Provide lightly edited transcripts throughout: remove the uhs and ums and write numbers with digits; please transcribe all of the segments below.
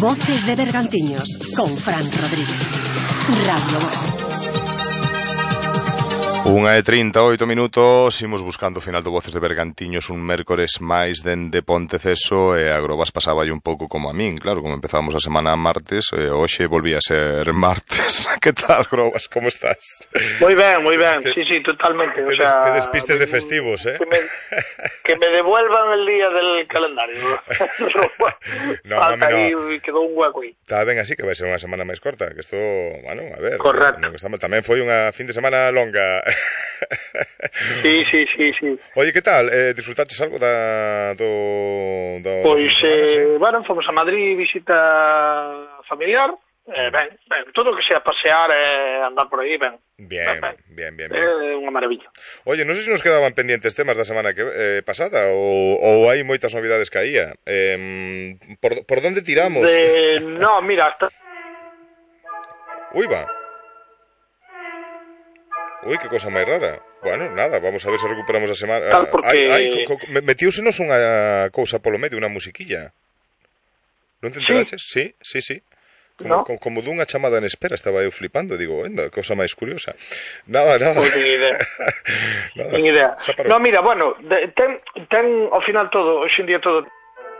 Voces de Bergantiños con Fran Rodríguez. Radio Voz. 1:38, imos buscando o final do Voces de Bergantiños un mércores máis dende Ponteceso e a Grobas pasaba un pouco como a min, claro, como empezábamos a semana martes, hoxe volvía a ser martes. Que tal, Grobas, como estás? Moi ben, sí, totalmente. Que despistes de festivos, Que me devuelvan el día del calendario. No, mami, no. Quedou un hueco aí. Está ben así, que vai ser unha semana máis corta, que isto, bueno, a ver. Correcto. Tamén foi unha fin de semana longa. Sí. Oye, que tal? Disfrutaches algo do Pois, bueno, fomos a Madrid, visita familiar. Ben, todo o que sea pasear e andar por aí, ben. Bien. Unha maravilla. Oye, non sei se nos quedaban pendientes temas da semana pasada ou hai moitas novidades que había. Por donde tiramos? No, mira, Ui, que cosa máis rara. Bueno, nada, vamos a ver se recuperamos a semana. Tal, porque... Metiúsenos unha cousa polo medio, unha musiquilla. Non te enteraches? Sí. Como dunha chamada en espera, estaba eu flipando, digo, enda, cousa máis curiosa. Nada. Pois nin idea. No, mira, bueno, ten ao final todo, hoxe en día todo.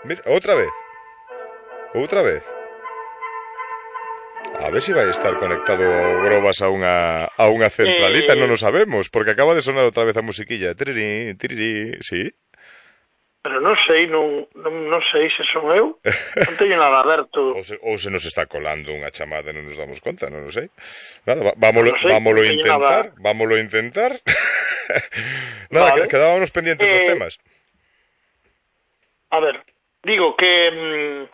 Mira, outra vez. A ver se vai estar conectado Grobas a unha centralita, non o sabemos, porque acaba de sonar outra vez a musiquilla. Tiriri, sí? Pero non sei se son eu. Non teño nada aberto. Ou se nos está colando unha chamada e non nos damos conta, non o sei. Nada, vámolo intentar. Nada, vale. Quedábamos pendientes dos temas. A ver, digo que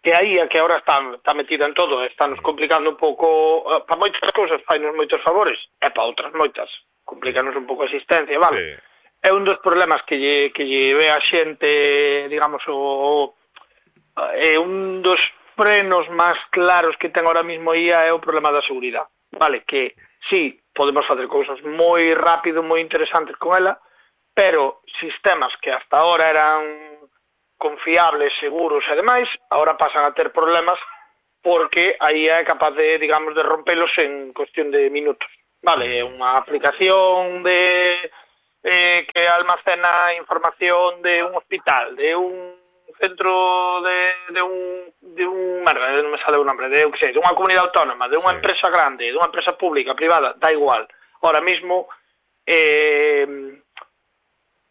aí a que ahora está metida en todo, está nos complicando un pouco, para moitas cousas fainos moitos favores, e para outras moitas complicanos un pouco a existencia, vale? Sí. É un dos problemas que lle ve a xente, digamos, é un dos frenos máis claros que ten ahora mismo IA é o problema da seguridade, vale? Que sí, podemos facer cousas moi rápido, moi interesantes con ela, pero sistemas que hasta ahora eran confiables, seguros e demais, agora pasan a ter problemas porque a IA é capaz de, digamos, de rompelos en cuestión de minutos. Vale, unha aplicación que almacena información de un hospital, de un centro de un merda, non me sale o nombre, de unha comunidade autónoma, de unha empresa grande, de unha empresa pública, privada, da igual. Ahora mismo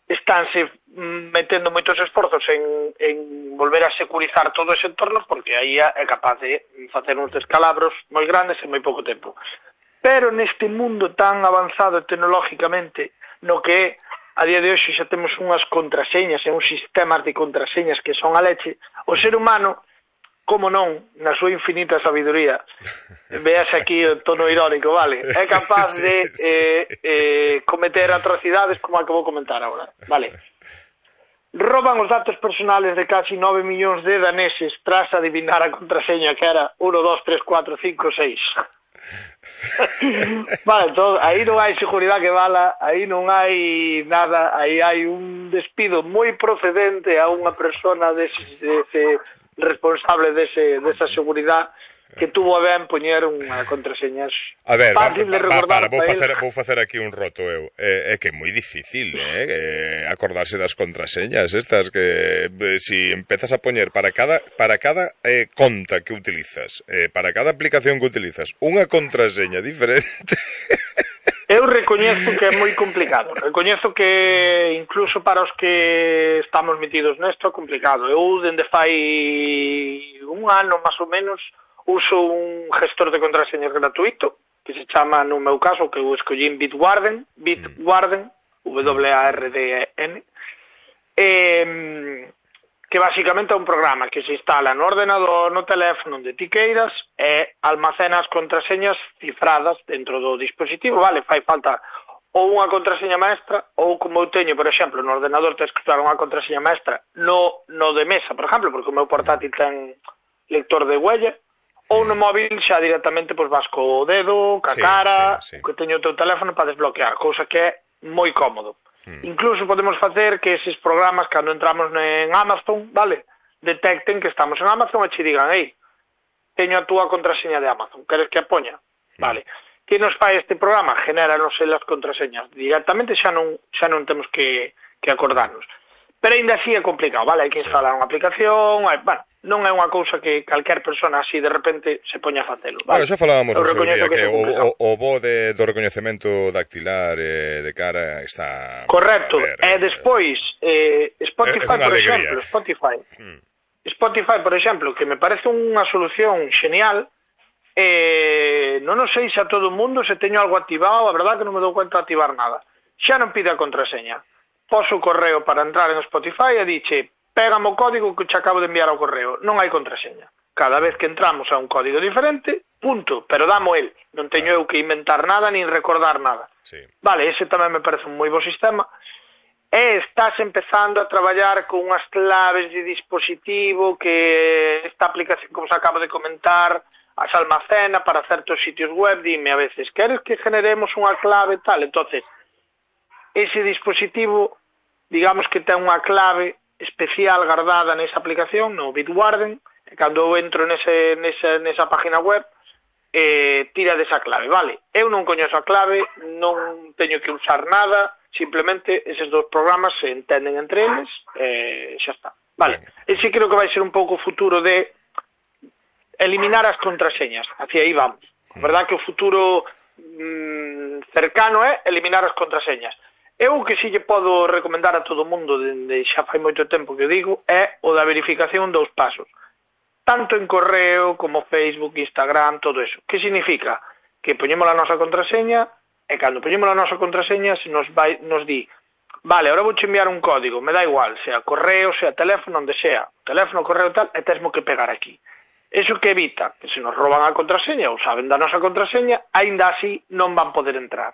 estánse metendo moitos esforzos en volver a securizar todo ese entorno porque aí é capaz de facer uns descalabros moi grandes en moi pouco tempo. Pero neste mundo tan avanzado tecnológicamente, no que a día de hoxe xa temos unhas contraseñas e uns sistemas de contraseñas que son a leche, o ser humano, como non, na súa infinita sabiduría, veas aquí o tono irónico, vale, é capaz de cometer atrocidades como a que vou comentar agora, vale. Roban os datos personales de casi 9 millóns de daneses tras adivinar a contraseña que era 1, 2, 3, 4, 5, 6. Vale, todo, aí non hai seguridade que vala, aí non hai nada, aí hai un despido moi procedente a unha persona dese responsable desa seguridade que tuvo a ben poñer unha contraseñas. A ver, vou facer aquí un roto eu. É que é moi difícil, acordarse das contraseñas estas que si empezas a poñer para cada conta que utilizas, para cada aplicación que utilizas, unha contraseña diferente. Eu recoñezo que é moi complicado. Recoñezo que incluso para os que estamos metidos nesto é complicado. Eu dende fai un ano máis ou menos uso un gestor de contraseñas gratuito que se chama, no meu caso, que eu escollín Bitwarden, W-A-R-D-N, que basicamente é un programa que se instala no ordenador, no teléfono, onde ti queiras, e almacena as contraseñas cifradas dentro do dispositivo, vale, fai falta ou unha contraseña maestra, ou como eu teño, por exemplo, no ordenador tens que usar unha contraseña maestra no de mesa, por exemplo, porque o meu portátil ten lector de huella, ou no móvil xa directamente pois vas co dedo, ca cara, que teño o teu teléfono para desbloquear, cousa que é moi cómodo. Incluso podemos facer que eses programas, cando entramos en Amazon, vale, detecten que estamos en Amazon e che digan, teño a túa contraseña de Amazon, queres que a poña? Vale. Que nos fai este programa? Genéranos as contraseñas directamente, xa non temos que acordarnos. Pero ainda así é complicado, vale? Hai que instalar unha aplicación, non é unha cousa que calquer persona así de repente se poña a facelo, vale? Bueno, xa falábamos do seu día, que o bo do recoñecemento dactilar de cara está... Correcto, e despois Spotify, por exemplo, Spotify, por exemplo, que me parece unha solución genial, non sei se a todo o mundo se teño algo activado, a verdad que non me dou cuenta de activar nada. Xa non pide a contraseña. Poso o correo para entrar en Spotify e dixe, pégame o código que che acabo de enviar ao correo. Non hai contraseña. Cada vez que entramos a un código diferente, punto, pero damo el. Non teño eu que inventar nada nin recordar nada. Sí. Vale, ese tamén me parece un moi bo sistema. E estás empezando a traballar con unhas claves de dispositivo que esta aplicación, como se acabo de comentar, as almacena para certos sitios web. Dime a veces, queres que generemos unha clave tal? Entonces, ese dispositivo, digamos que ten unha clave especial guardada nesa aplicación, no Bitwarden, e cando eu entro nesa página web, tira desa clave, vale? Eu non coñezo a clave, non teño que usar nada, simplemente eses dos programas se entenden entre eles, xa está. Vale, ese creo que vai ser un pouco o futuro de eliminar as contraseñas, hacia aí vamos. A verdad que o futuro cercano é eliminar as contraseñas. Eu o que si lle podo recomendar a todo o mundo, dende xa fai moito tempo que o digo, é o da verificación 2 pasos. Tanto en correo como Facebook, Instagram, todo eso. Que significa? Que poñemos a nosa contraseña e cando poñemos a nosa contraseña se nos di, vale, ahora vou enviar un código, me dá igual, sea correo, sea teléfono, onde sea, teléfono, correo tal, e tesmo que pegar aquí. Eso que evita que se nos roban a contraseña ou saben da nosa contraseña, aínda así non van poder entrar.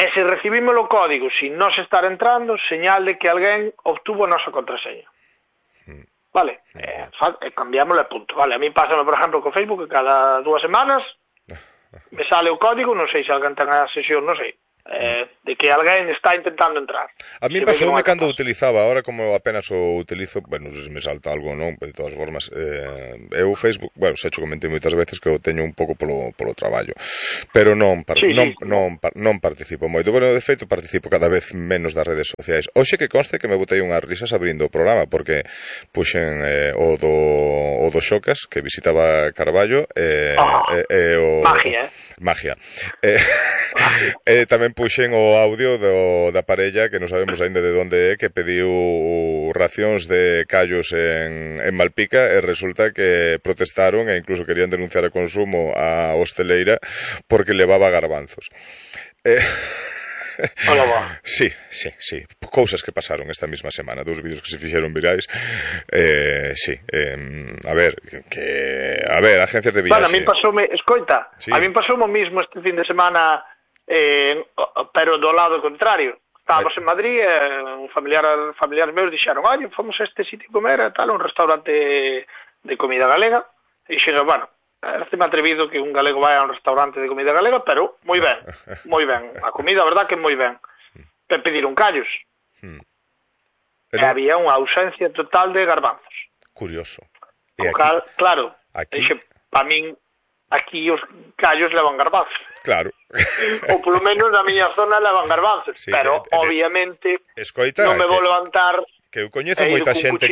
E se recibimos o código sin nos estar entrando, señal de que alguén obtuvo a nosa contraseña. Vale, cambiámosle punto. Vale, a mí pásame, por exemplo, con Facebook, que cada 2 semanas me sale o código, non sei se alguén ten a sesión, non sei, de que alguén está intentando entrar. A mí pasoume cando utilizaba, ahora como apenas o utilizo, bueno, se me salta algo, non? De todas formas, eu Facebook, bueno, xa cho comentei moitas veces que o teño un pouco polo traballo, pero non participo moito. Bueno, de feito, participo cada vez menos das redes sociais. Hoxe que conste que me botei unhas risas abrindo o programa, porque puxen o do Xocas, que visitaba Carballo, Magia. Tamén puxen o audio da parella que non sabemos aínda de onde é, que pediu racións de callos en Malpica, e resulta que protestaron e incluso querían denunciar a consumo a hosteleira porque levaba garbanzos. Sí, cousas que pasaron esta mesma semana, 2 vídeos que se fixeron virais. Sí, a ver, agencias de viaxe. Bueno, a mí pasoume, escoita, sí. A mí pasoume o mismo este fin de semana, pero do lado contrario. Estábamos en Madrid, familiares meus dixeron, oye, fomos a este sitio comer, tal, un restaurante de comida galega, e dixeron, bueno, me atrevido que un galego vai a un restaurante de comida galega, pero moi ben, a comida, a verdad que moi ben. Pediron callos. E había unha ausencia total de garbanzos. Curioso. Claro, para min, aquí os callos levan garbanzos. Claro. Ou polo menos na miña zona levan garbanzos, sí, pero obviamente non me vou levantar que eu coñezo moita xente